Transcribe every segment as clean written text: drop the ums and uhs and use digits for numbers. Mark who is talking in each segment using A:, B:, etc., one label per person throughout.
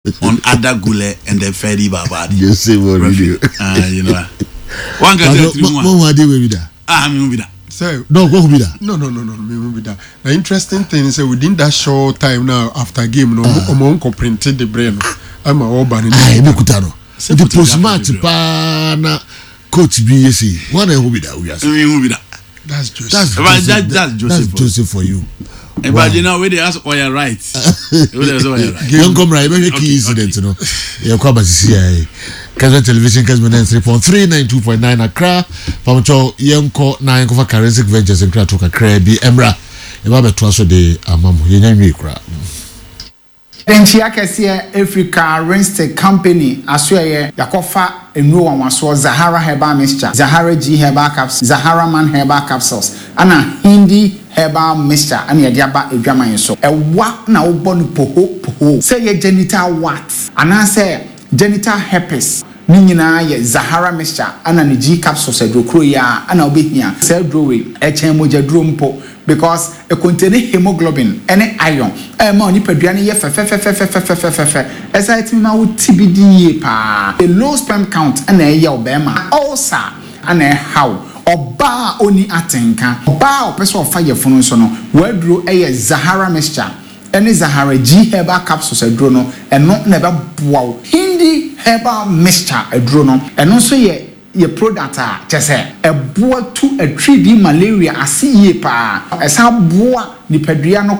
A: On Ada Gule and then Ferdi Babadi.
B: Jose Mourinho.
A: Ah, you know. One can tell you
B: one. Mo ade we bi da.
A: Ah, me bi da.
C: Sir,
B: no, go bi da.
C: No, me bi da. The interesting thing is that within that short time now after game no, omo nko printed the brain. Ama oba ni.
B: Ah, ebi kuta no. The post match pa na coach bi yesi. One na ehu bi da we are.
A: Me hu bi da.
C: That's Joseph.
B: That's
A: But
B: Joseph.
A: that's Joseph.
B: That's Joseph for you.
A: Wow. But you know, we dey ask oya right. We dey ask oya right.
B: Yɛn kɔ mìíràn yɛbɛhwɛ key incident no yɛn kɔ abasisi yɛ yi Kesben television Kesben 93.3 92.9 Accra Pamutɔ yɛn kɔ na yɛn kɔfa Karensic Ventures nkrato kakraa bi ɛmra yɛba abɛtoa so de ama mo yɛn nya nwie koraa.
D: Nkyia kɛseɛ firi Karinste Company asoɛeɛ Yɛakɔfa nnuro nwanwasoɔ Zahara Herbal Mixture, Zahara G Herbal Capsules, Zahara Man Herbal Capsules ɛna Hindi Herbal Mixture ɛna yɛde aba adwaman yi so. Ɛwa na wobɔ no poho poho sɛ ɛyɛ genital warts anaasɛ genital herpes ne nyinaa yɛ Zahara Mixture ɛna ne G Capsules aduro koro yi ara ɛna wobɛhia. Saa aduro wei ɛkyɛn mogyaduro mpo Because ɛkontene hemoglobin ne iron a ɛma wo nipadua no yɛ fɛfɛfɛfɛfɛfɛfɛfɛ. Ɛsan tumi ma wo ti bi di yie paa. Low sperm count na ɛyɛ wo barima. Ulcer na ɛha wo. Ɔbaa a ɔnni atenka. Ɔbaa a ɔpɛ sɛ ɔfa yafunu nso no, w'aduro yɛ Zahara mixture ne Zahara G herbal capsules aduro no, ɛno na ɛbɛboa wo. Hindi herbal mixture aduro no, ɛno nso yɛ yɛ product a kyerɛ sɛ ɛboa tu atiridii malaria ase yie paa. Ɛsan boa nipadua no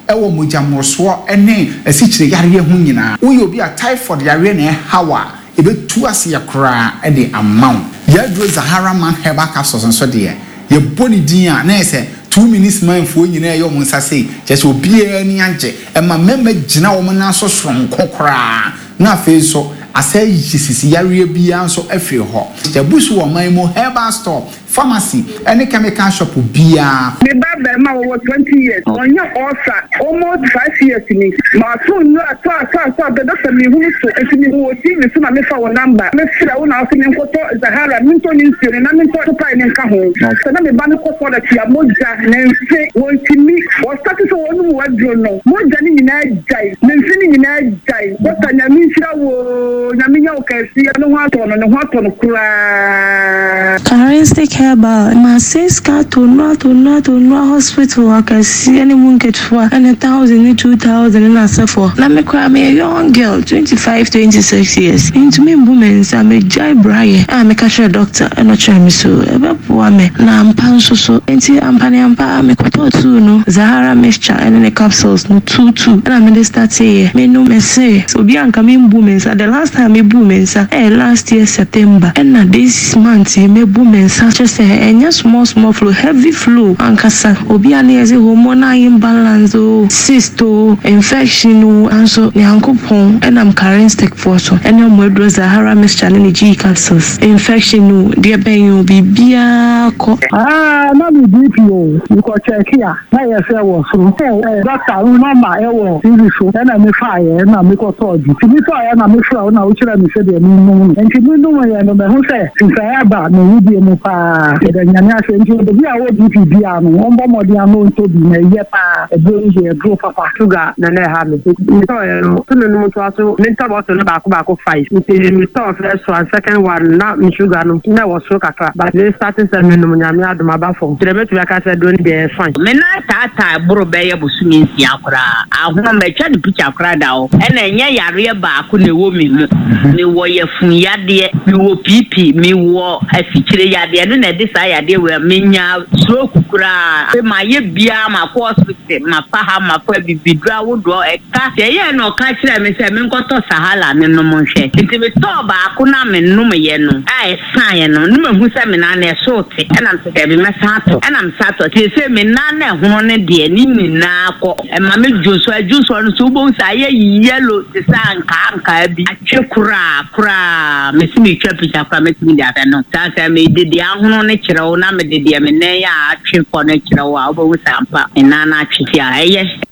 D: wɔ mogya mmorosoɔ ne asikyire yareɛ ho nyinaa. Woyɛ obi a typhoid yareɛ na ɛha wo a, ɛbɛtu aseɛ koraa de ama wo. Yɛn aduro Zahara Man Herbal Capsules nso deɛ, yɛbɔ ne din a, na ɛyɛ sɛ two minutes man foɔ nyinaa ɛyɛ wɔn nsa sei, kyerɛ sɛ obiara ani agye. Ɛma mmarima gyina wɔn nan so soronko koraa. Na afei nso asɛ ayi sisi yareɛ biara nso afiri hɔ. Yɛabu so wɔ ɔman yi mu herbal store, pharmacy ne chemical shop biara.
E: Me ba barima ɔwɔ 20 years ɔnya ulcer almost 5 years ni mato nnuro ato ato ato abɛ doctor menhunu so nti mehu wɔ TV so na mefa wo number me frɛ wo na wose menkɔtɔ Zahara mentɔ ne nsuo no na mentɔ topae no nka ho sɛ na me ba no kɔ toilet a mogya ne mfe wɔntumi wɔ start sɛ wɔnom waduro no mogya no nyinaa gyae ne mfe no nyinaa gyae. Doctor nyame nhyira wo oo nyame nyɛ wo kɛseɛ ne ho atɔ no ne ho atɔ no koraa.
F: Charistic Herbal, Mase sika tonua tonua tonua hospital akɛseɛ ne mu nketewa ɛne thousand ne 2000 ne n'asefoɔ na me koraa meyɛ young girl 25 26 years mentumi mbu me nsa megyae brayɛ a meka kyerɛ doctor ɛna ɔkyerɛ me so ɛbɛboa me na ampa nso so nti ampa ne ampa ara mekɔtɔɔ tuu no Zahara mixture ɛne ne capsules no two two ɛna mede starteeɛ menom mese sɛ obi a nka membu me nsa the last time mebuu me nsa ɛyɛ last year September ɛna this month yi mebu me nsa kyerɛ sɛ ɛnyɛ small small flow heavy flow ankasa obi a ne yɛse hormonal imbalance oo cyst oo infection oo nanso Nyankopɔn ɛnam Karenstick foɔ so ɛne ɔmo aduro Zahara mixture ne ne G capsules infection oo deɛ bɛn oo biribiara kɔ.
G: Aah na me BP o, me kɔ check a na ɛyɛ sɛ ɛwɔ soro. Sɛ doctor wo number ɛwɔ TV so ɛna me faeɛ ɛna me kɔ tɔɔ bi. Nti me tɔɔeɛ na me frɛ wo na wo kyerɛ me sɛdeɛ me nom no. Nti me nom yɛ no mahu sɛ nsaeɛ aba me wedeɛ mu paa. Yɛda Nyame ase. Nti obi a ɔwɔ BP biaa no ɔmbɔ mmɔden ano ntɔ bi na ɛyɛ paa. Aduro no deɛ aduro papa.
H: Sugar na na ɛha me. Nti me tɔɔeɛ no so me nom toa so me ntɔ bottle no baako baako five. Nti me tɔɔ first one second one na me sugar no na ɛwɔ soro kakra but me starte sɛ me nom Nyame adom aba fam. Nti deɛ mɛtumi aka sɛ aduro no deɛ ɛyɛ fine.
I: Me nan taataa boro bɛyɛ bosome nsia koraa. Ahono matwa no picture koraa da hɔ. Ɛna ɛnyɛ yareɛ baako na ɛwɔ me mu. Mewɔ yafunu yadeɛ, mewɔ PP, mewɔ asikyire yadeɛ. Ɛno na ɛde saa yadeɛ wei a menya stroke koraa. Afei mayɛ biara makɔ hospital, mafa ha mafa abibiduro ahodoɔ ɛka. Deɛ ɛyɛɛ na ɔka kyerɛɛ me sɛ menkɔtɔ Sahala menom nhwɛ. Nti metɔɔ baako no a menomyɛ no a ɛsaeɛ no na mahu sɛ me nan no ɛso rete. Ɛna mesɛ daabi mɛsan atɔ. Ɛna mesan tɔ. Seesei me nan no a ɛhono no deɛ ne nyinaa kɔ. Ɛma me dwonsɔ. Ɛdwonsɔ no nso wobɛhu sɛ ayɛ yellow te sɛ ankaa ankaa bi. Atwe koraa koraa. Mese metwa picture koraa mɛtumi de abɛ no. Saa sɛ mede deɛ ahono no kyerɛ wo na mede deɛ me nan a atwe kɔ no kyerɛ wo a wobɛhu sɛ ampa me nan no atwe. Nti a ɛyɛ.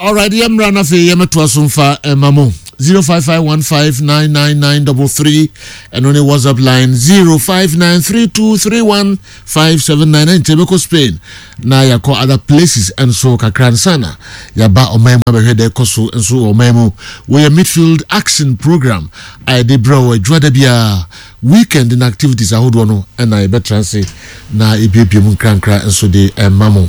B: Alright, yɛmmra na afei yɛmmɛtoa so mfa ɛma mo. 0551599933 ɛno ne WhatsApp line 0593231579 ɛnkyɛ bɛkɔ Spain na yɛakɔ other places nso kakra nsa na yɛaba ɔman mu abɛhwɛ deɛ ɛkɔ so nso wɔ ɔman mu. Wɔyɛ midfield action program a yɛde brɛ wɔ adwuada biara weekend na activities ahodoɔ no ɛna yɛbɛtra ase na yɛbiebie mu nkrankra nso de ɛma mo.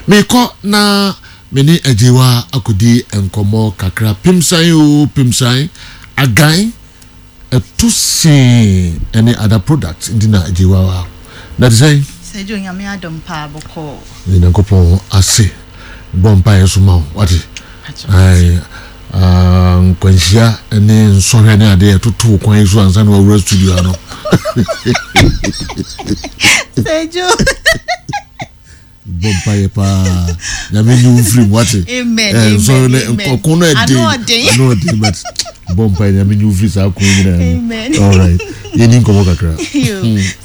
B: Mekɔ na me ne Agyewa akɔdi nkɔmmɔ kakra. Pemsan o pemsan agan ɛto see ɛne other products nti na Agyewa wa na te sɛn.
J: Sɛ gye Onyame adom paa bɔkɔɔ.
B: Ne Nyankopɔn ase bɔ mpaeɛ nso ma wo wate. Ae nkwanhyia ne nsɔhwɛ ne adeɛ ɛtoto wo kwan yi so ansa na wawura studio ano.
J: Sɛ gye
B: bɔ mpaeɛ paa nyame nyi wo mfiri mu wate nsɔre no ɔko no ɛden ano ɔden but bɔ mpaeɛ nyame nyi wo mfiri saa ko nyinaa mu alright yɛni nkɔmmɔ kakra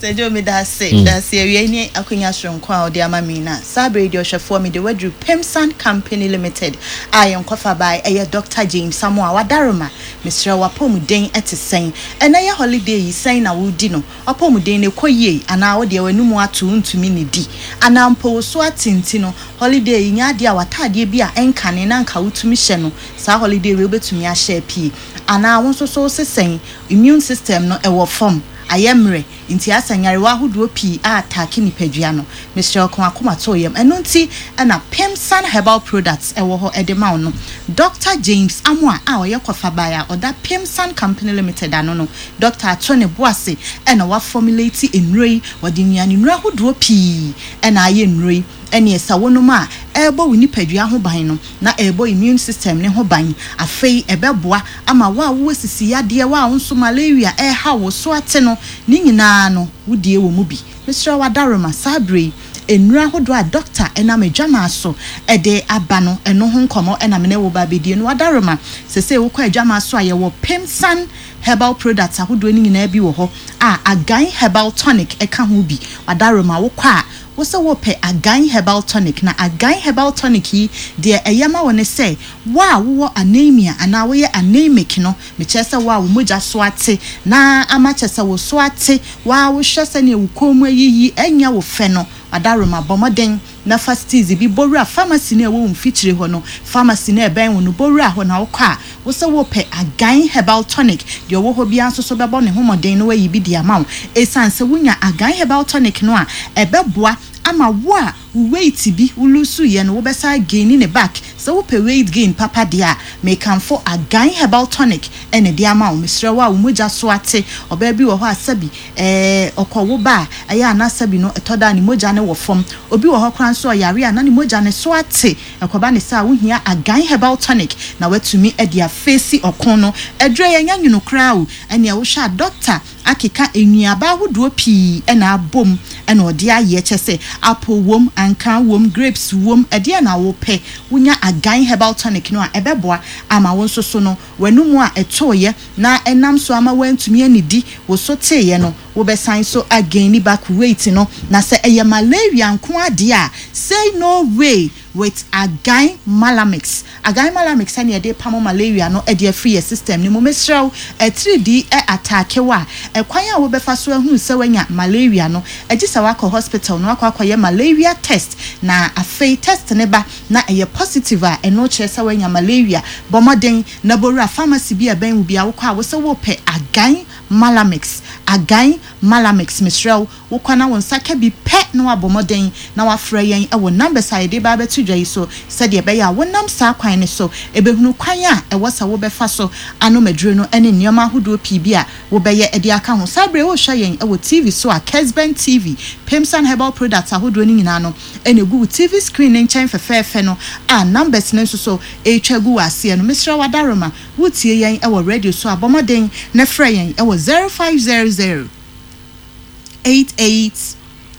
J: sɛ gye meda ase meda ase awia ne akwanya soronko a ɔde ama me na saa bere deɛ ɔhwɛfoɔ mede waduru Pemsan Company Limited a yɛn kɔfa bae ɛyɛ Dr. James Samoa wadaroma mesrɛ wapɔmuden ɛte sɛn ɛnɛ yɛ holiday yi sɛn na wodi no W'apɔmuden no ɛkɔ yie anaa wo deɛ w'anum ato wontumi nnidi anaa mpo wo so ate nti no holiday yi nyɛ adeɛ a w'ataadeɛ bi a ɛnkane na anka wotumi hyɛ no saa holiday wei wobɛtumi ahyɛ apue anaa wo nso so wose sɛn immune system no ɛwɔ fam ayɛ mmerɛ nti asa nyarewa ahodoɔ pii a ataake nipadua no mesrɛ wo ka w'akoma to wo yam ɛno nti na Pemsan herbal products ɛwɔ hɔ de ma wo no Doctor James Amoah a ɔyɛ kɔfabae a ɔda Pemsan Company Limited ano no Dɔkta ato ne bo ase na wafɔmuleti nnuro yi. Wɔde nnuane nnuro ahodoɔ pii na ayɛ nnuro yi. Ɛneɛ sɛ wonom a, ɛrebɔ wo nipadua ho ban no, na ɛrebɔ immune system no ho ban. Afei ɛbɛboa ama wo a wowɔ sisi yadeɛ, wo a wo nso malaria reha wo, wo so ate no, ne nyinaa no, wo deɛ wɔ mu bi. Mesrɛ wo adaworoma, saa berɛ yi, nnuro ahodoɔ a dɔkta nam adwamaa so de aba no, ɛno ho nkɔmmɔ na me ne wo reba abɛdie no. Adaworoma, seesei wokɔ adwamaa so a, yɛwɔ Pemsan Herbal products ahodoɔ no nyinaa bi wɔ hɔ a Agan Herbal Tonic ka ho bi. Wadaroma, wokɔ a, wo sɛ worepɛ Agan Herbal Tonic. Na Agan Herbal Tonic yi, deɛ ɛyɛ ma wo ne sɛ, wo a wowɔ anaemia anaa woyɛ anaemic no, mekyerɛ sɛ wo a wo mogya so ate na ama kyerɛ sɛ wo so ate, wo ara wohwɛ sɛdeɛ wo kɔn mu ayiyi ɛnyɛ wo fɛ no, wadaroma, bɔ mmɔden na fa steeze bi bɔ wura pharmacy no a ɛwɔ wo mfikyire hɔ no, pharmacy no a ɛbɛn wo no, bɔ wura hɔ na wokɔ a, wo sɛ worepɛ Agan Herbal Tonic, deɛ ɔwɔ hɔ biara nso so bɛbɔ ne ho mmɔden na wayi bi de ama wo. Ɛsiane sɛ wonya Agan Herbal Tonic no a, ɛbɛboa ama wo a wo weight bi wo lose-yɛ no, wobɛsan againi ne back. Sɛ wopɛ weight gain papa deɛ a, mekamfo Agan Herbal Tonic na ɛde ama wo. Mesrɛ wo a wo mogya so ate, ɔbaa bi wɔ hɔ a sɛbi Ɛɛ, ɔkɔwo ba a, ɛyɛ a na sɛbi no ɛtɔ da a ne mogya no wɔ fam. Obi wɔ hɔ koraa nso a ɔyare a na ne mogya no so ate. Ɛkɔba ne saa a, wohia Agan Herbal Tonic na woatumi de afeesi ɔko no. Aduro yi, ɛnyɛ nwono koraa o. Ɛnneɛ wohwɛ a dɔkta akeka nnuaba ahodoɔ pii na abom na ɔde ayɛ. Kyerɛ sɛ, apple wom, ankaa wom, grapes wom, ɛdeɛn na wopɛ? Wonya Agan Herbal Tonic no a, ɛbɛboa ama wo nso so no, w'anomu a ɛtooeɛ na ɛnam so ama woantumi annidi, wo so teeɛ no, wobɛsan so a gaini back weight no. Na sɛ ɛyɛ malaria nko ara deɛ a, say no way with Agan Malamix. Agan Malamix ɛne yɛde repamo malaria no de afiri yɛ system no mu. Mesrɛ wo, atiridii ɛ ataake wo a, ɛkwan a wobɛfa so ahunu sɛ woanya malaria no, gye sɛ woakɔ hospital na woakɔ akɔyɛ malaria test, na afei test no ba na ɛyɛ positive a, ɛno kyerɛ sɛ woanya malaria. Bɔ mmɔden na bɔ wura pharmacy bi a ɛbɛn wo biara, wokɔ a wosɛ worepɛ Agan Malamix, Agan Malamix, mesrɛ wo, wokɔ na wo nsa ka bi pɛ na woabɔ mmɔden na woafrɛ yɛn wɔ numbers a yɛde reba abɛto dwa yi so sɛdeɛ ɛbɛyɛ a wonam saa kwan no so bɛhunu kwan a ɛwɔ sɛ wobɛfa so anom aduro no ne nneɛma ahodoɔ pii bi a wobɛyɛ de aka ho. Saa berɛ yi worehwɛ yɛn wɔ TV so a, Kesben TV, Pemsan Herbal Products ahodoɔ no nyinaa no, na egu wo TV screen no nkyɛn fɛfɛɛfɛ no a numbers no nso so retwa gu wɔ aseɛ no. Mesrɛ wo adaworoma, woretie yɛn wɔ radio so a, bɔ mmɔden na frɛ yɛn wɔ 0500 88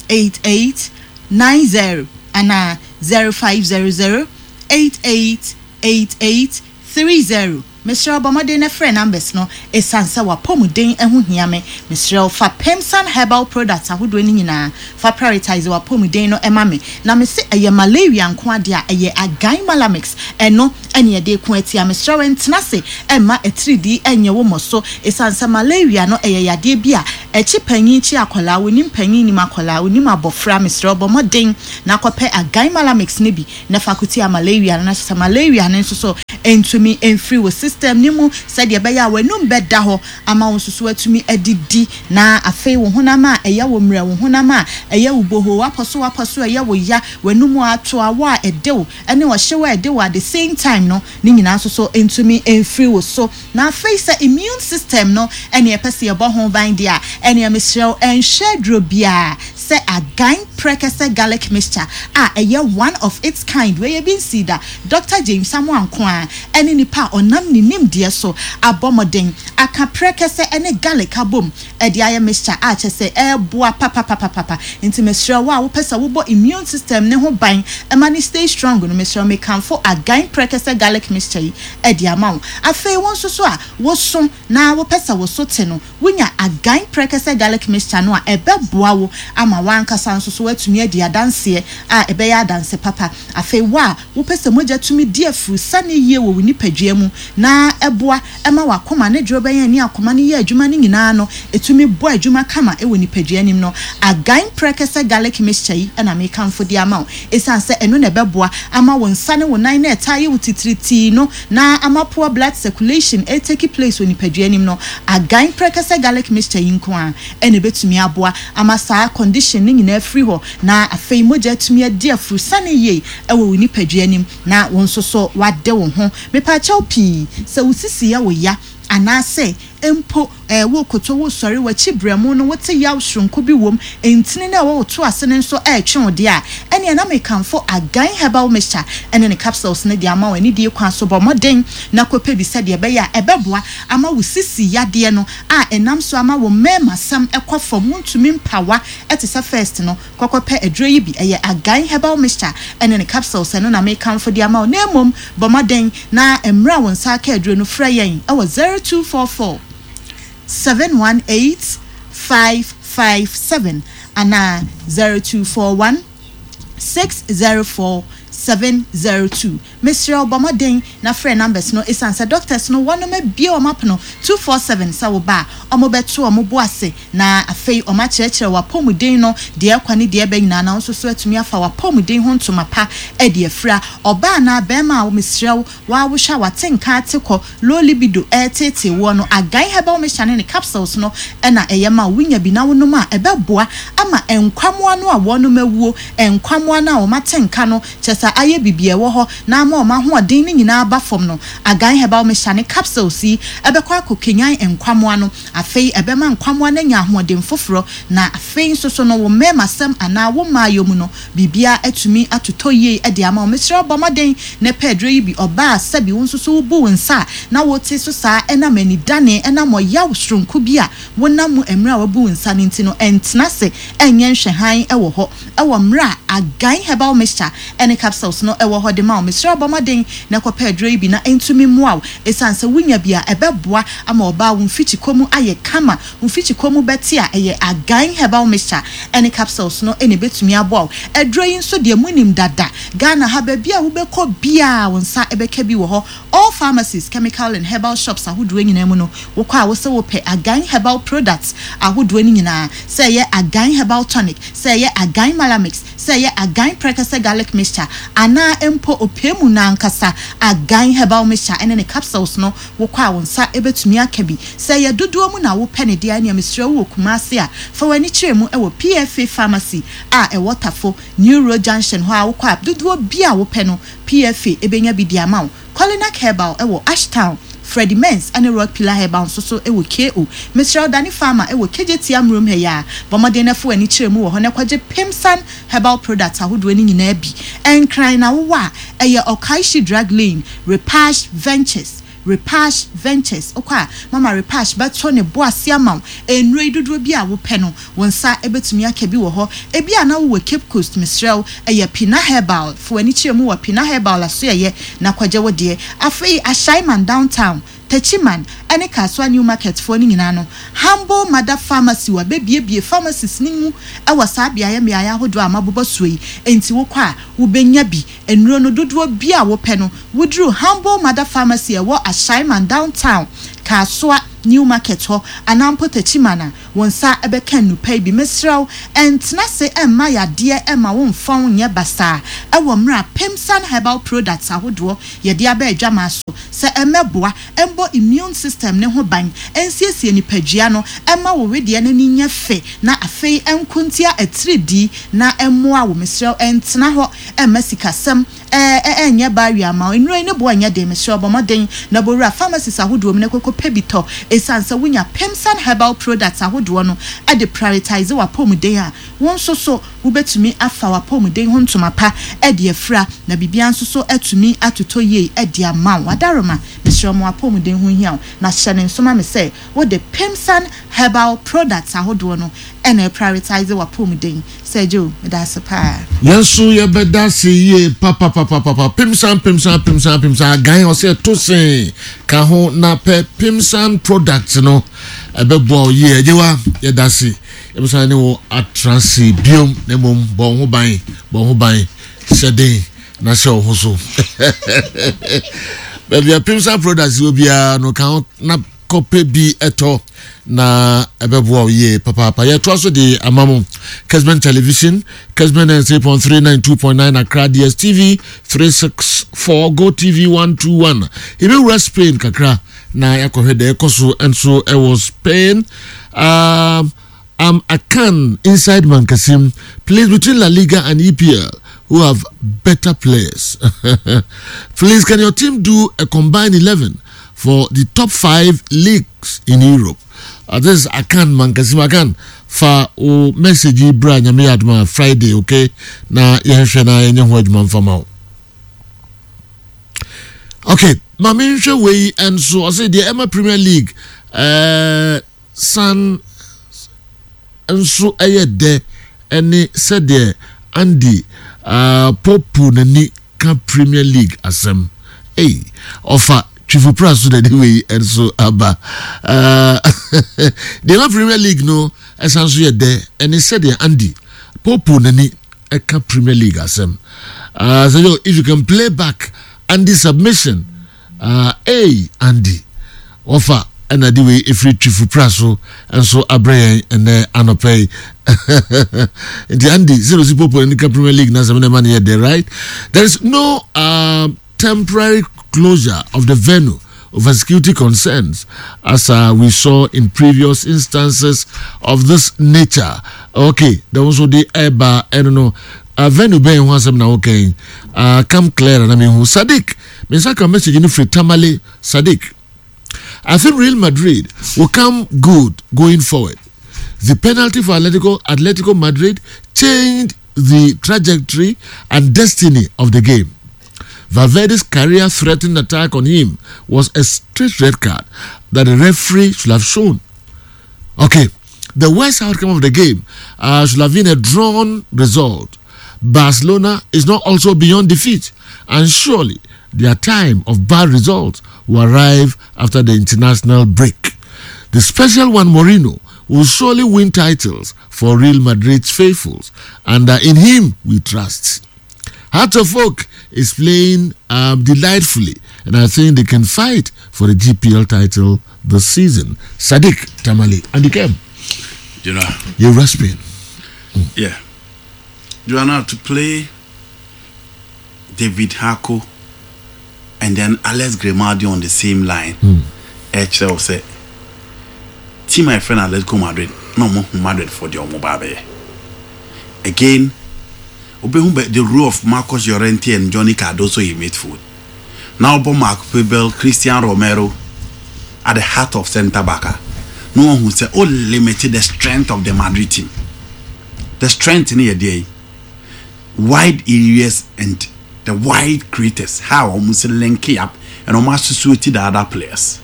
J: 88 90 anaa 0500 88 88 30. Mesrɛ wo bɔ mmɔden na frɛ numbers no ɛsiane sɛ w'apɔmuden ho hia me. Mesrɛ wo fa Pemsan herbal products ahodoɔ no nyinaa fa prioritise w'apɔmuden no ma me. Na mese ɛyɛ malaria nko ara deɛ a, ɛyɛ Agan Malamix, ɛno ne yɛde reko atia. Mesrɛ wo ntena ase mma atiridii nyɛ wo mmɔso ɛsiane sɛ malaria no ɛyɛ yadeɛ bi a ɛkye panyin kye akwadaa, wonim panyin nim akwadaa, wonim abɔfra. Mesrɛ wo bɔ mmɔden na kɔpɛ Agan Malamix no bi na fa ko tia malaria no na kyerɛ sɛ malaria no nso so ntumi mfiri wo system no mu sɛdeɛ ɛbɛyɛ a w'anum bɛda hɔ ama wo nso so atumi adidi na afei wo honam a ɛyɛ wo mmerɛ, wo honam a ɛyɛ wo bohoo, w'apɔso w'apɔso a ɛyɛ wo ya, w'anum a ato, awɔ a ɛde wo ne ɔhyew a ɛde wo at the same time no ne nyinaa nso so ntumi mfiri wo so. Na afei sɛ immune system no ne yɛpɛ sɛ yɛbɔ ho ban deɛ a, ɛneɛ mesrɛ wo nhwɛ aduro biara sɛ Agan Prɛkɛsɛ Garlic Mixture a ɛyɛ one of its kind, wei ebi nsii da, Doctor James Amoah nko ara ne nipa a ɔnam ne nimdeɛ so abɔ mmɔden aka prɛkɛsɛ ne garlic abom de ayɛ mixture a kyerɛ sɛ ɛboa papapapapa. Nti mesrɛ wo a wopɛ sɛ wobɔ immune system no ho ban ma no stay strong no, mesrɛ wo mekamfo Agan Prɛkɛsɛ Garlic Mixture yi de ama wo. Afei wo nso so a woso na wopɛ sɛ wo so te no, Wunya agan prɛkɛsɛ garlic mixture no a, ɛbɛboa wo ama w'ankasa nso so woatumi adi adanseɛ a ɛbɛyɛ adanse papa. Afei wo a wopɛ sɛ mogya tumi di afurusane yie wɔ wo nipadua mu na ɛboa ma w'akoma ne dworobɛn a ɛne akoma no yɛ adwuma no nyinaa no tumi bɔ adwuma kama wɔ nipadua no mu no, agan prɛkɛsɛ garlic mixture yi na mekamfo de ama wo. Esiane sɛ ɛno na ɛbɛboa ama wo nsa ne wo nan no a ɛtaa yɛ wo titiritii no na ama poor blood circulation retake place wɔ nipadua no mu no, agan prɛkɛsɛ garlic mixture yi nko ara na ɛbɛtumi aboa ama saa condition no nyinaa afiri hɔ na afei mogya atumi adi afurusane yie wɔ wo nipadua no mu na wo nso so woade wo ho. Mepaakyɛw pii, sɛ wo sisi yɛ wo ya anaasɛ mpo worekoto, woresɔre, w'akyi berɛmo no wote yaw soronko bi wom, ntini no a ɛwɔ wo to ase no nso retwe wo deɛ a, ɛnneɛ na mekamfo Agan Herbal Mixture ne ne capsules no de ama wo. Anidie kwan so, bɔ mmɔden na kɔpɛ bi sɛdeɛ ɛbɛyɛ a ɛbɛboa ama wo sisi yadeɛ no a ɛnam so ama wo mmarimasɛm kɔ fam, wontumi mpawa te sɛ first no. Kɔkɔpɛ aduro yi bi, ɛyɛ Agan Herbal Mixture ne ne capsules, ɛno na mekamfo de ama wo. Na mmom bɔ mmɔden na mmerɛ a wo nsa aka aduro no, frɛ yɛn wɔ 0244 718 557 anaa 0241 604 702. Mesrɛ wo bɔ mmɔden na frɛ numbers no esiane sɛ doctors no wɔnom abue wɔn apono 247 sɛ wo ba a wɔn bɛto wɔn bo ase na afei wɔn akyerɛkyerɛ w'apɔmuden no deɛ ɛkɔ ne deɛ ɛba nyinaa na wo nso so atumi afa w'apɔmuden ho ntoma pa de afira. Ɔbaa anaa barima a mesrɛ wo Wo a wohwɛ a w'ate nka ate kɔ, low libido ɛreteetee woɔ no, Agan Herbal Mixture ne ne capsules no na ɛyɛ ma wo. Wonya bi na wonom a, ɛbɛboa ama nkwammoa no a wɔnom awuo, nkwammoa no a wɔn ate nka no, kyerɛ sɛ ayɛ biribi a ɛwɔ hɔ na ama wɔn ahoɔden no nyinaa aba fam no. Agan Herbal Mixture ne capsules yi bɛkɔ akɔkanyan nkwammoa no. Afei ɛbɛma nkwammoa no anya ahoɔden foforɔ, na afei nso so no, wo mmarimasɛm anaa wo mmaayɔ mu no, Biribiara atumi atotɔ yie de ama wo. Mesrɛ wo bɔ mmɔden na pɛ aduro yi bi. Ɔbaa a sɛbi wo nso so wobu wo nsa a na wote so saa ɛnam anidane, ɛnam ɔyaw soronko bi a wonam mu mmerɛ a wabu wo nsa no nti no, ntena ase nyɛ nhwɛhan wɔ hɔ wɔ mmerɛ a Agan Herbal Mixture ne Capsules no wɔ hɔ de ma wo. Mesrɛ wo bɔ mmɔden na kɔpɛ aduro yi bi na ɛntumi mmoa wo. Ɛsiane sɛ wonya bi a ɛbɛboa ama ɔbaa wo mfikyikɔ mu ayɛ kama. Wo mfikyikɔ mu bɛte a, ɛyɛ Agan Herbal Mixture ne capsules no na ɛbɛtumi aboa wo. Aduro yi nso deɛ monim dada, Ghana ha baabi a wobɛkɔ biara wo nsa bɛka bi wɔ hɔ. All pharmacies, chemical and herbal shops ahodoɔ nyinaa mu no, wokɔ a wose wopɛ Agan Herbal products ahodoɔ no nyinaa, sɛ ɛyɛ Agan Herbal Tonic, sɛ ɛyɛ Agan Malamix, sɛ ɛyɛ Agan Prɛkɛsɛ Garlic Mixture anaa mpo ɔpɛɛmu no ankasa Agan Herbal Mixture ne ne capsules no, Wokɔ a wo nsa bɛtumi aka bi. Sɛ ɛyɛ dodoɔ mu na wopɛ no deɛ a ɛneɛ mesrɛ wo wɔ Kumasi a, fa w'ani kyerɛ mu wɔ PFA Pharmacy a ɛwɔ Tafo, New Road Junction hɔ a wokɔ a dodoɔ bi a wopɛ no PFA bɛnya bi de ama wo. Kolinak Herbal wɔ Ashtown, Freddie Mens ne Rock Pillar Herbal nso so wɔ KO. Mesrɛ wo Dane Pharma wɔ Kejetia Murom ha yi ara. Bɔ mmɔden na fa w'ani kyerɛ mu wɔ hɔ na kɔgye Pimsan Herbal products ahodoɔ no nyinaa bi. Nkran na wowɔ a, ɛyɛ Okaishie Drug Lane, Repash Ventures, Repash Ventures, wokɔ a, Mama Repash bɛto ne bo ase ama wo nnuro yi dodoɔ bi a wopɛ no, wo nsa bɛtumi aka bi wɔ hɔ. Ebia na wowɔ Cape Coast, mesrɛ wo, ɛyɛ Pina Herbal, fa w'ani kyerɛ mu wɔ Pina Herbal asoɛeɛ na kɔgye wo deɛ. Afei Ashaiman Downtown. Techiman ne Kasoa New Market foɔ no nyinaa no, Humble Mother Pharmacy wɔabɛbuebue pharmacies no mu wɔ saa beaeɛ mmeaeɛ ahodoɔ a mabobɔ soɔ yi, enti wokɔ a wobɛnya bi. Nnuro no dodoɔ biara a wopɛ no, woduru Humble Mother Pharmacy a ɛwɔ Ashaiman Downtown, Kasoa New Market hɔ anaa mpo Techiman a, wo nsa bɛka nnupa yi bi. Mesrɛ wo, ntena ase mma yadeɛ mma wo mfa wo nyɛ basaa wɔ mmerɛ a Pemsan Herbal Products ahodoɔ yɛde aba adwamaa so sɛ ɛmmɛboa mmɔ immune system no ho ban, ɛnsiesie nipadua no, ɛmma wo wedeɛ no ani nyɛ fɛ na afei ɛnko ntia atiridii na ɛmmoa wo. Mesrɛ wo, ntena hɔ mma sikasɛm ɛnyɛ barrier mma wo. Nnuro yi ne boɔ nyɛ den, mesrɛ wo bɔ mmɔden na bɔ wura pharmacies ahodoɔ mu na kɔkɔ pɛ bi tɔ. Ɛsiane sɛ wonya Pemsan Herbal Products ahodoɔ no de prioritise w'apɔmuden a, wo nso so wobɛtumi afa w'apɔmuden ho ntoma pa de afira na biribiara nso so atumi atotɔ yie de ama wo. Adaroma, mesrɛ wo ma w'apɔmuden ho nhia wo na hyɛ no nso ma me sɛ wode Pemsan Herbal Products ahodoɔ no na ɛprioritise w'apɔmuden. Sir Joe, meda ase paa.
B: Yɛn nso yɛbɛda ase yie papapapapa. Pemsan pemsan pemsan pemsan agan ɔsɛ ɛto sen ka ho na pɛ pemsan product no ɛbɛboa wo yie. Agyewa yɛda ase yɛbɛsan ne wo atra ase biom na mmom bɔ wo ho ban bɔ wo ho ban hyɛ den na hyɛ wo ho so. Baabi a pemsan products wɔ biara no ka ho na kɔpɛ bi tɔ na ɛbɛboa wo yie papaapa. Yɛtoa so de ama mo Kesben Television, Kesben 93.3, 92.9 Accra, DSTV 364, Go TV 121. Yɛbɛwura Spain kakra na yɛakɔhwɛ deɛ ɛkɔ so nso ɛwɔ Spain. Um, I'm Akan inside Mankasim. Please, between La Liga and EPL, who have better players? Please, can your team do a combined 11 for the top five leagues in Europe? Uh, this is Akan Mankasim. Akan, fa o message yi bra nyame yɛ adoma Friday, okay? Na yɛnhwɛ na yɛnyɛ ho adwuma mfa ma wo. Okay, ma menhwɛ wei nso ɔsɛ deɛ ɛma Premier League uh, san nso yɛ dɛ ne sɛdeɛ Andy poopoo n'ani ka Premier League asɛm. Ei, ɔfa Twifo Pra so na ɛde wei nso aba. Deɛ ɛma Premier League no san nso yɛ dɛ ne sɛdeɛ Andy poopoo n'ani ka Premier League asɛm. Uh, so yo, if you can play back Andy's submission, Ah ei Andy wɔfa ɛna de wei ɛfiri Twifo pra so nso abrɛ yɛn ɛnɛ anɔpa yi nti Andy sɛ osi popo ne ka Premier League na sɛm na ɛma no yɛ dɛ right there is no uh, temporary closure of the venue over security concerns as uh, we saw in previous instances of this nature okay there was the ɛba ɛno no uh, venue bɛn ho asɛm na wokɛn uh, come clear na mehu Sadiq Me nsa ka message no firi Tamale Sadiq. I think Real Madrid will come good going forward. The penalty for Atletico, Atletico Madrid changed the trajectory and destiny of the game. Valverde's career-threatening attack on him was a straight red card that the referee should have shown. Okay, the worst outcome of the game uh, should have been a drawn result. Barcelona is not also beyond defeat, and surely their time of bad results will arrive after the international break. The special one, Mourinho, will surely win titles for Real Madrid's faithfuls, and uh, in him we trust. Heart of Oak is playing um, delightfully, and I think they can fight for the GPL title this season. Sadiq Tamale, and Kem.
A: You know,
B: you're rasping.
A: Yeah. Joanna, to play David Hako and then Alex Grimaldi on the same line. Mm. Ɛkyerɛ wo sɛ team a yɛfrɛ no Atletico Madrid na ɔmo hu Madrid for deɛ ɔmo ba abɛyɛ. Again, wobɛhu bɛ the role of Marcos Llorente and Johnny Cardoso in midfield. Na wɔbɔ Marc Puebel, Christian Romero at the heart of centre back a, na wɔhu sɛ o limit the strength of the Madrid team. The strength no yɛ deɛ yi wide areas and the wide creators how wɔn si link up and wɔn associate the other players.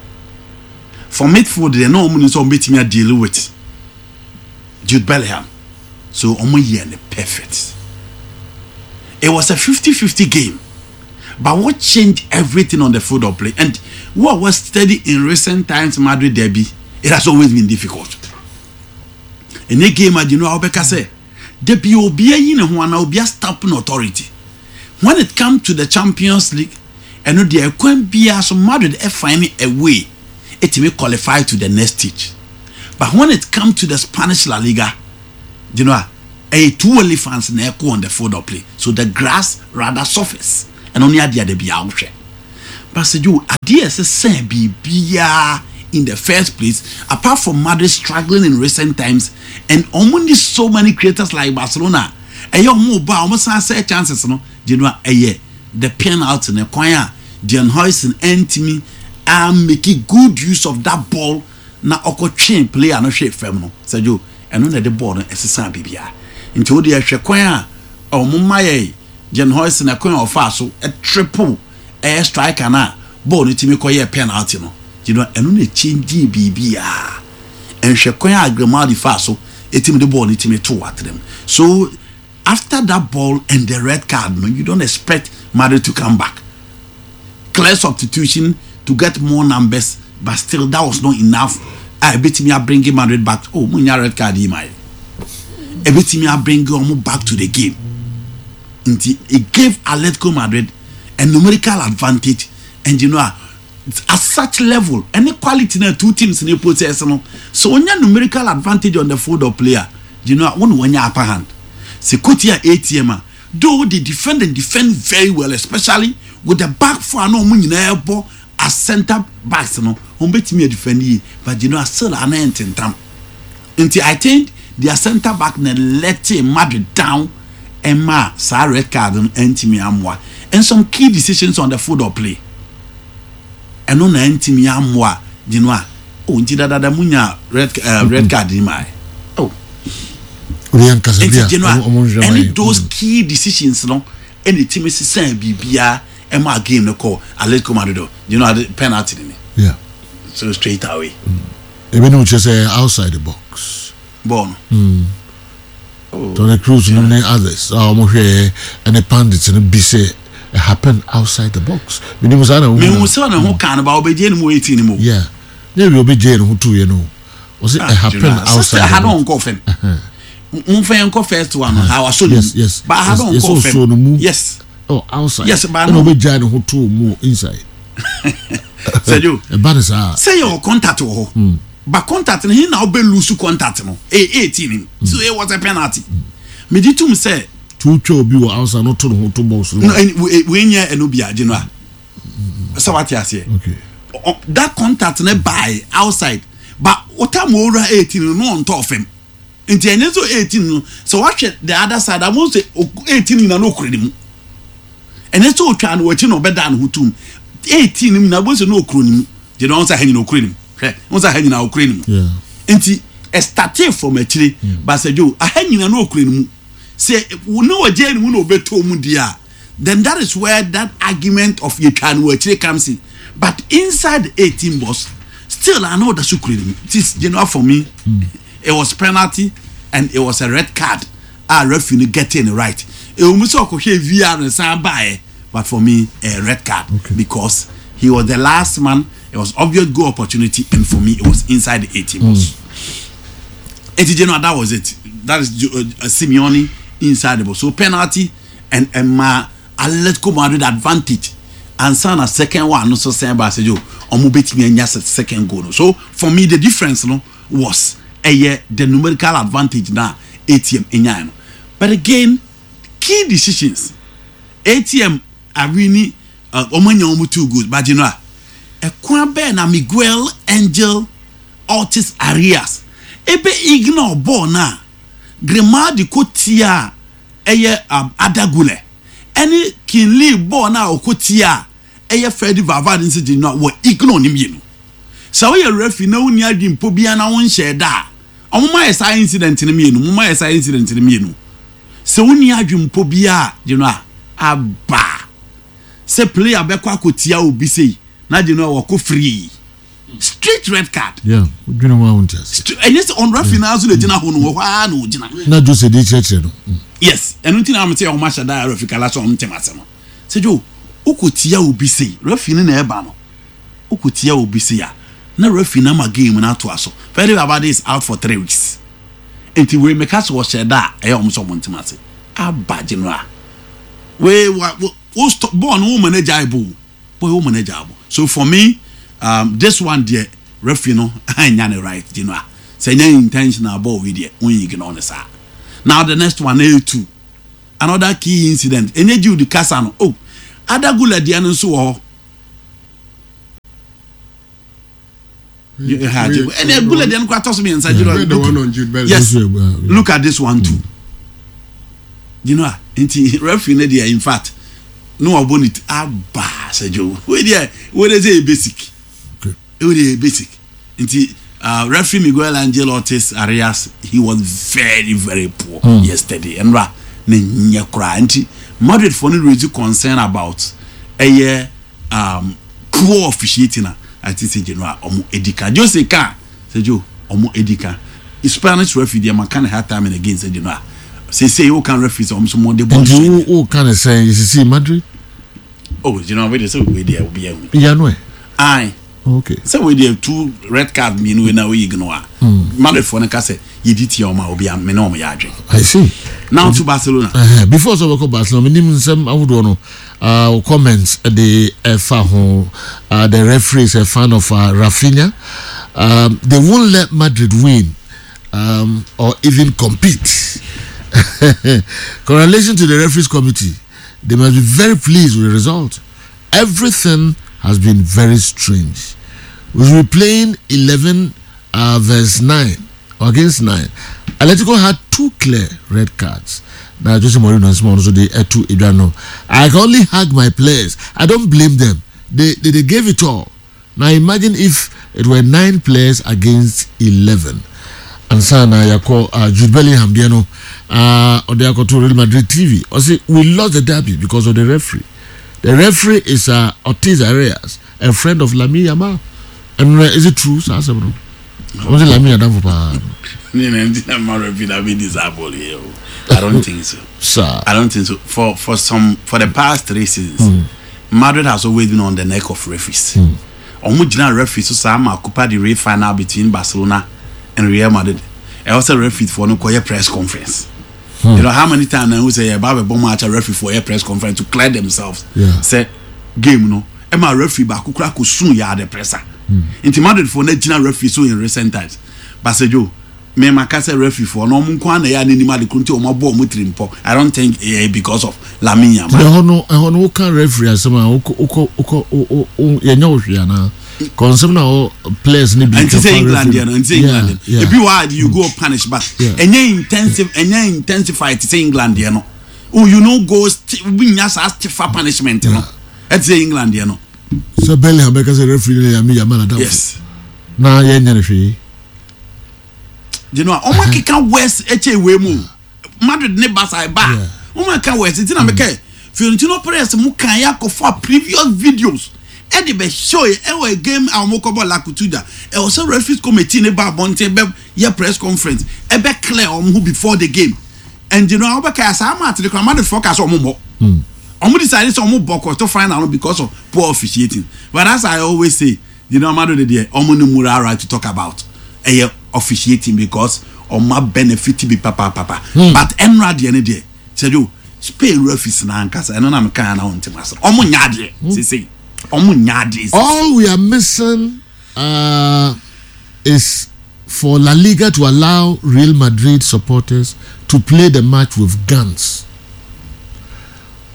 A: For midfield deɛ na wɔn nim sɛ wɔn bɛtumi a deal with Jude Bellingham so wɔn yɛ no perfect. It was a 50-50 game. But what changed everything on the field of play and what was steady in recent times Madrid derby, it has always been difficult. Ɛnyɛ game a gyina a wobɛka sɛ da bi obi ayi ne ho anaa obi astamp no authority. When it comes to the Champions League, ɛno deɛ ɛkwan biara so Madrid find a way ɛtumi qualify to the next stage. But when it comes to the Spanish La Liga, you know, ɛyɛ two elephants na ɛkɔ on the field of play. So the grass rather suffers. Ɛno ne adeɛ a da biara wohwɛ. But sɛ Joe, adeɛ a ɛsɛ sɛ biribiara in the first place, apart from Madrid struggling in recent times, and wɔn ni so many creators like Barcelona, ɛyɛ wɔn ba a wɔn san sɛ chances no, gye no a ɛyɛ the penalty no kwan a Dean Huijsen ɛntumi a make good use of that ball na ɔkɔ twee player no hwee fam no, sɛ Joe, ɛno na ɛde ball no ɛsesa biribiara. Nti wo deɛ hwɛ kwan a wɔn ma yɛ Dean Huijsen ɛkwan a ɔfaa so triple ɛyɛ striker no a bɔɔl no tumi kɔyɛɛ penalty no, you know, ɛno na ɛkyɛngyee biribiara. Nhwɛ kwan a Grimaldi faa so ɛtumi de bɔɔl no tumi too atrem. So after that ball and the red card no, you don't expect Madrid to come back. Clear substitution to get more numbers, but still that was not enough. A ɛbɛtumi abringi Madrid back. Oh, mo nya red card yi ma yɛ. Ɛbɛtumi abringi wɔn back to the game. Nti it gave Atletico Madrid a numerical advantage and you know a at such level ɛne quality na two teams ne possess no so onya numerical advantage on the field of play a you know a wɔn wɔnya upper hand sɛ koti a ATM a though they defend and defend very well especially with the back four a na wɔn nyinaa bɔ as centre backs no wɔn bɛtumi adefend yie but you know a still ana ntentam. Nti I think their centre back na letee Madrid down ɛmaa saa red card no antumi ammoa and some key decisions on the field of play ɛno na antumi ammoa Genoa oh nti dadada mo nya red uh, red card ni maa oh nti Genoa ɛne those mm. key decisions no ɛna etimi sisan biribiara ɛmaa game no kɔ Atletico Madrid Genoa penalty ni
B: yeah
A: so straight away.
B: Mm. Ebinom kyerɛ sɛ ɛyɛ outside the box.
A: Bɔɔl no. Mm.
B: Oh. Toni Kroos nom ne others a wɔn hwɛɛ ɛne pundits no bi sɛ it happened outside the box. Menim saa na wohu.
A: Mehu sɛ ne ho kan no ba ɔbɛgye ne mu 18 no mu.
B: Yeah. Ne wie ɔbɛgye ne ho tuiɛ no. Ɔsɛ it happened outside the box.
A: Ha no nkɔ fam. Momfa yɛn kɔ first one no. Ha wasɔ ne mu.
B: Yes, yes.
A: Ba ha no nkɔ fam. Yes.
B: Oh, outside.
A: Yes, ba
B: no. Ɛna ɔbɛgyae ne ho too mu inside.
A: Sɛjo.
B: Ɛba ne saa.
A: Sɛ yɛ wɔ contact wɔ hɔ. Mm. Ba contact no hin na ɔbɛ lose contact no. Ɛyɛ 18 nim. Mm. So it was a penalty. Mm. Megye tum sɛ.
B: Tu twa obi wɔ outside no to ne ho to box no.
A: No, wei nyɛ ɛno bi agye no a. Sɛ wate aseɛ.
B: Okay.
A: That contact no by outside. But ɔtam owura 18 no no ɔntɔ fam. Nti ɛnyɛ sɛ 18 no sɛ wahwɛ the other side a wɔn sɛ 18 nyina no okura ne mu ɛnyɛ sɛ otwa no wɔakyi na ɔbɛda ne ho tum 18 no nyina wɔn sɛ no okura ne mu gye na wɔn sɛ ha nyina okura ne mu hwɛ wɔn sɛ ha nyina okura ne mu nti ɛstate from akyire baasa dwo aha nyina no okura ne mu sɛ ne wɔgye ne mu na ɔbɛtɔ mu di a then that is where that argument of yɛtwa no wɔ akyire comes in but inside the 18 box still I know ɔda so kura ne mu this general for me. Mm. It was penalty and it was a red card a referee no getting it right. Ɛwɔ mu sɛ ɔkɔhwɛ VAR no san baeɛ but for me a red card okay. because he was the last man. It was obvious goal opportunity and for me it was inside the 18 box. Mm. Eti general that was it. That is uh, Simeone inside the box. So penalty and and ma Atletico Madrid advantage ansa na second one no so sɛn ba sɛ yo ɔmo betumi anya second goal no. So for me the difference no was ɛyɛ the numerical advantage na ATM nyae no but again key decisions ATM awini uh, wɔn anya wɔn two goals but you know a ɛkwan bɛɛ na Miguel Angel Ortiz Arias ebe ignore ball na Grimaldi ko tia ɛyɛ um, Arda Güler ɛne Kinley ball na ɔkɔ tia ɛyɛ Freddy Valverde nso gyina wɔ ignore ne mmienu. Sɛ woyɛ referee na wonni adwempɔ biara na wonhyɛɛ da a, wɔn ayɛ saa incident no mmienu, wɔn ayɛ saa incident no mmienu. Sɛ wonni adwempɔ biara you know a, aba sɛ player bɛkɔ akɔtia obi sei na gye no a wɔkɔ free straight red card.
B: Yeah, dwene ho a wonte ase.
A: Ɛnyɛ sɛ on referee naa so na gyina hɔ no wɔ hɔ ara na ogyina.
B: Na Jose de kyerɛkyerɛ no.
A: Yes, ɛno nti na wɔn sɛ wɔn ahyɛ da referee kala sɛ wɔn ntɛm ase no. Sɛ Joe. Wokɔ tia obi sei, referee no na ɛba no. Wokɔ tia obi sei a, na referee no ama game no atoa so. Fede Valverde is out for 3 weeks. Nti wei meka sɛ ɔhyɛ da a, ɛyɛ ɔmo sɛ ɔmo ntem ase. Aba general. Wei wa wo stop ball no wo ma no agyae bo. Boy wo ma no agyae bo. So for me, this one deɛ referee no anya ne right general. Sɛ nyɛ intentional ball wei deɛ, wo ignore ne saa. Now the next one, ɛyɛ two. Another key incident. Enye Jude kasa no. Oh, Arda Guler deɛ no nso wɔ hɔ. Ɛnna Guler deɛ no kora tɔ so mmiɛnsa. Jude, yes, look at this one too. Ah, nti referee no deɛ, in fact, no wabɔ ne ti aba sɛ Joe. Wei deɛ, wei deɛ sɛ yɛ basic. Wei deɛ yɛ basic. Nti referee Miguel Angel Ortiz Arias, he was very very poor yesterday. Ɛnura ne nyɛ koraa. Nti Madrid for no raise concern about ɛyɛ poor officiating a I think sɛ general ɔmo edi kan. Jose ka sɛ Joe ɔmo edi kan. Spanish referee deɛ maka ne hard time and again sɛ general. Sɛ o kan referee sɛ ɔmo so mo de bɔ.
B: Nti wo ka ne sɛn yɛsisi Madrid?
A: Oh, general wei de sɛ wei deɛ obi ahu.
B: Ìyanu ɛ.
A: Aye.
B: Okay.
A: Sɛ wei deɛ two red card mmienu wei na oyi ignore a. Madrid foɔ no ka sɛ yɛdi tia ɔmo a obi a me ne ɔmo yɛ adwene.
B: I see.
A: Now to Barcelona.
B: Before sɛ ɔbɛkɔ Barcelona, menim nsɛm ahodoɔ no, comments de ɛfa ho. The referee is a fan of Rafinha. They won't let Madrid win or even compete. Correlation to the referees committee, they must be very pleased with the result. Everything has been very strange. We will be playing 11 verse 9 against 9. Atletico had two clear red cards. Now, Jose Mourinho and Simon also they two Adriano. I can only hug my players. I don't blame them. They gave it all. Now imagine if it were nine players against 11. And sana yako Jude Bellingham deɛ no ɔde akɔto Real Madrid TV. Ɔse we lost the derby because of the referee. The referee is Ortiz Arias, a friend of Lamine Yamal. And is it true? Saa asɛm no. Ɔmo sɛ Lamine adamfo paa.
A: Ne na nti na ma referee na be disable here. I don't think so.
B: Sir.
A: I don't think so. For the past 3 seasons, Madrid has always been on the neck of referees. Ɔmo gyina referee so saa ma Copa del Rey final between Barcelona and Real Madrid. Ɛwɔ sɛ referee for no kɔyɛ press conference. You know how many times na who say yɛ ba bɛ bɔ match a referee for yɛ press conference to clear themselves. Sɛ game no ɛma referee baako kura ko sun yɛ ade presser. Nti Madrid for no gyina referee so in recent times. Basejo me ma ka sɛ referee for no ɔmo nko ana yɛ anenim ade koro nti ɔmo abɔ ɔmo tiri mpɔ. I don't think because of Lamine Yamal.
B: Ɛhɔ no woka referee asɛm a wokɔ wokɔ wokɔ yɛnyɛ wo hwee anaa? Kɔnsɛm na ɔ players ne bi
A: nti sɛ England deɛ no, nti sɛ England deɛ ebi wɔ a you go punish, but ɛnyɛ intensive, ɛnyɛ intensify te sɛ England deɛ no. Oh, you no go bi nya saa stiffer punishment no ɛte sɛ England deɛ no.
B: Sɛ Bellingham bɛka sɛ referee no yɛ Lamine Yamal adamfo.
A: Yes.
B: Na yɛnyɛ no hwee.
A: You know ɔmo akeka worse ɛkyɛ ewei mu Madrid ne Barca ɛba ɔmo aka worse nti na mekɛ Florentino Perez mu kan yɛ akɔfa previous videos ɛde bɛ show yɛ ɛwɔ game a ɔmo kɔbɔ La Cutuja. Ɛwɔ sɛ referees committee ne ba abɔnten bɛ yɛ press conference ɛbɛ clear ɔmo ho before the game. And you know ɔbɛka yɛ saa match de kora Madrid fɔ ka sɛ ɔmo bɔ ɔmo decide sɛ ɔmo bɔ kɔtɔ final no because of poor officiating. But as I always say, Madrid deɛ ɔmo ne moral right to talk about ɛyɛ officiating because ɔmo benefit bi papapapa. But ɛnura deɛ ne deɛ sɛjo Spain referees na ankasa ɛno na meka na wɔn ntɛm ase ɔmo nya adeɛ sese ɔmo nya adeɛ.
B: All we are missing is for La Liga to allow Real Madrid supporters to play the match with guns.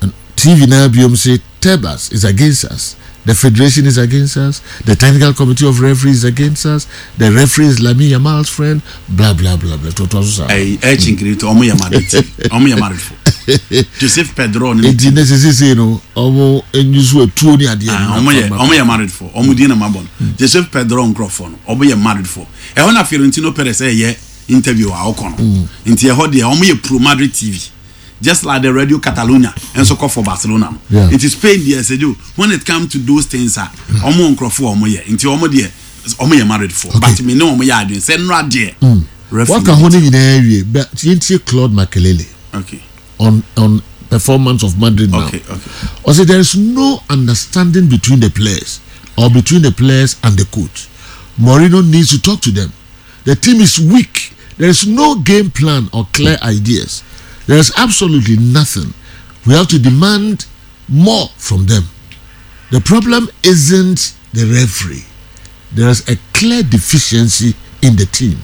B: And TV now biom say Tebas is against us. The federation is against us. The technical committee of referees is against us. The referee is Lamine Yamal's friend. Blah blah blah blah. To so saa.
A: Ɛyi ɛ kyinkiri to ɔmo yɛ Madrid team, ɔmo yɛ Madrid fo Joseph Pedro ne.
B: Eti ne sisi sisi no ɔmo enyi so etuo ni adeɛ.
A: Ah, ɔmo yɛ Madrid fo, ɔmo din na ma bɔ no Joseph Pedro nkorɔfo no ɔmo yɛ Madrid fo. Ɛhɔ na Florentino Perez ɛyɛ interview a ɔkɔ no nti ɛhɔ deɛ ɔmo yɛ pro Madrid TV, just like the Radio Catalonia nso kɔ for Barcelona no. Nti Spain deɛ sɛ jo when it come to those things a ɔmo nkorɔfo a ɔmo yɛ nti ɔmo deɛ ɔmo yɛ Madrid fo, but me ne ɔmo yɛ adwene sɛ nnora deɛ referee
B: Waka ho ne nyinaa wie, but yɛntie Claude Makelele
A: okay
B: on. performance of Madrid now.
A: Okay.
B: Ɔsɛ there is no understanding between the players or between the players and the coach. Mourinho needs to talk to them. The team is weak. There is no game plan or clear ideas. There is absolutely nothing. We have to demand more from them. The problem isn't the referee. There is a clear deficiency in the team.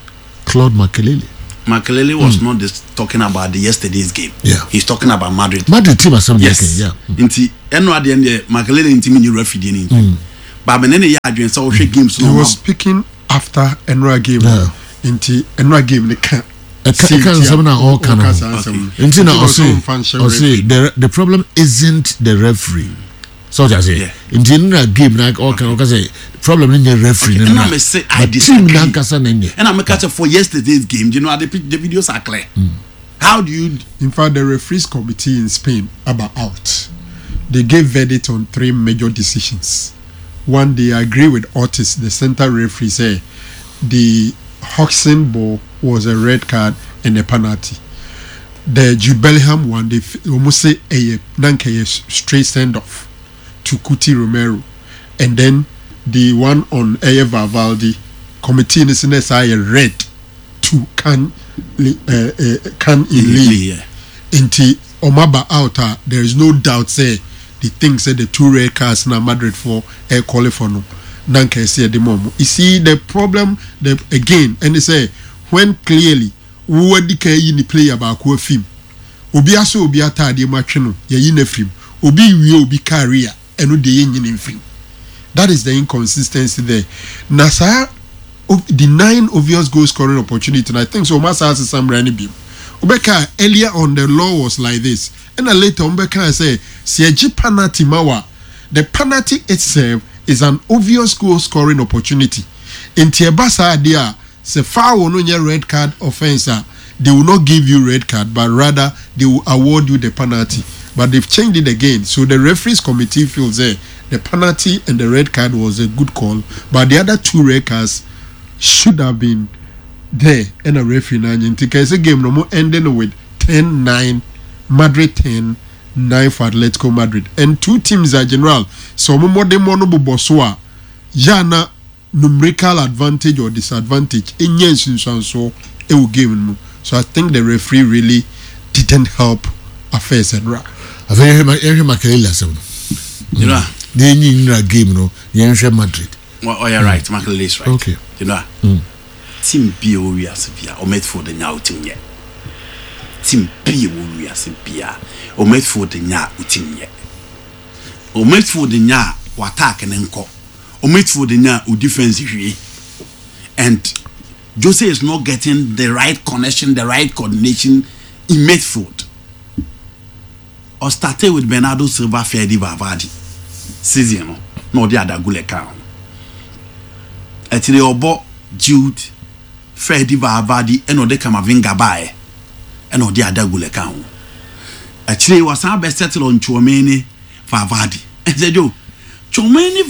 B: Claude Makelele.
A: Makelele was not just talking about the yesterday's game. He's talking about Madrid.
B: Madrid team asɛm.
A: Yes. Nti ɛno adeɛ no deɛ, Makelele ntumi nye referee deɛ no nti. But mene ne yɛ adwene sɛ wohwɛ games
C: He
A: no
C: was speaking after ɛnora game. Nti ɛnora game ne ka
B: ɛka nsɛm na ɔka no ho nti na ɔse the problem isn't the referee, so ɔte ase. Nti nnura game na ɔka sɛ problem no nyɛ referee no
A: na
B: but team nankasa na nyɛ.
A: Ɛna meka sɛ for yesterday's game, the videos are clear. How do you
C: In fact, the referees committee in Spain aba out. They gave verdict on three major decisions. One, they agree with Ortiz, the center referee, say the Huijsen ball was a red card and a penalty. The Jude Bellingham one, they almost say a nanka straight send off to Cuti Romero. And then the one on Eye Valverde, committee is in a red to Kang In Lee. Nti ɔmo out a, there is no doubt say the thing say the two red cards na Madrid for ɛ qualify no na nka ɛsɛ ɛde mu ɔmo. You see the problem, the again, ɛne sɛ when clearly wo adi kan yi ni player baako afim, obi asɔ obi ataadeɛ mu atwe no, yɛyi no afirim, obi wie obi career, ɛno deɛ yɛnyi no mfirim. That is the inconsistency there. Na saa denying obvious goal scoring opportunity, and I think so ɔmo asa asesa mmara no bi wobɛka. Earlier on, the law was like this, ɛna later ɔmo bɛka sɛ sɛ yɛgye penalty ma wa, the penalty itself is an obvious goal scoring opportunity. Nti ɛba saa adeɛ a, sɛ foul no nyɛ red card offence a, they will not give you red card, but rather they will award you the penalty. But they've changed it again. So the referees committee feels that the penalty and the red card was a good call, but the other two red cards should have been there, ɛna referee na anye. Nti kɛse game no mo ending with 10-9 Madrid, 10-9 for Atletico Madrid. And two teams are general so ɔmo mmɔdemmɔ no bobɔ so a yana numerical advantage or disadvantage enye nsunsuansoɔ ɛwɔ game no mu. So I think the referee really didn't help affairs ɛnora.
B: Afei yɛhwɛ Makelele asɛm no. Na yɛnyi nnura game no, yɛnhwɛ Madrid.
A: Well, oh, yeah, right. Makelele is right. Team bi a ɛwɔ wiase bia o midfield nya o team nyɛ. Team bi a ɛwɔ wiase bia o midfield nya o team nyɛ. O midfield nya o attack ne nkɔ. O midfield nya o defense hwie. And Jose is not getting the right connection, the right coordination in midfield. Or started with Bernardo Silva, Fede Valverde season no, na ɔde Arda Guler ka ho. Ɛtiri ɔbɔ Jude, Fede Valverde, ɛna ɔde Camavinga baeɛ, ɛna ɔde Arda Guler ka ho. Akyire wasan bɛ settle on Tchouameni, Valverde. Ɛsɛ Joe Tchouameni.